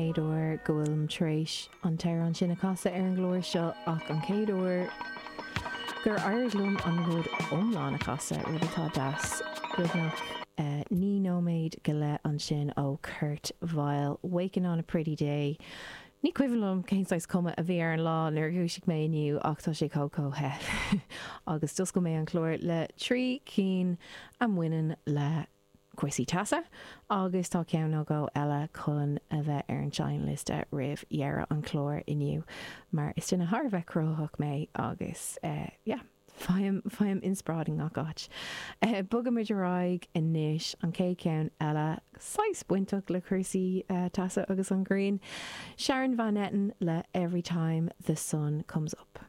chéad uair go bhfuilim tar éis an t-amhrán sin a chasadh ar an gclár seo ach an chéad uair gur éirigh liom an rud iomlán a chasadh, rud atá deas. Beagnach 9 nóiméad go leith ansin ó Kurt Vile, Waking on a Pretty Day. Ní cuimhin liom cén saghas cuma a bhí ar an lá nuair a dhúisigh mé inniu ach tá sé chomh chomh the. Agus d'oscail mé an clár le trí cinn a mbaineann le cúrsaí teasa agus tá ceann nó dhó eile chun a bheith ar an seinnliosta roimh dheireadh an chláir inniu mar is duine thar a bheith cruthaitheach mé agus yeah faighim faighim inspioráid i ngach áit. Bogaimid ar aghaidh anois, an chéad cheann eile saghas bainteach le cúrsaí teasa agus an ghrian, Sharon Van Etten le Every Time the Sun Comes Up.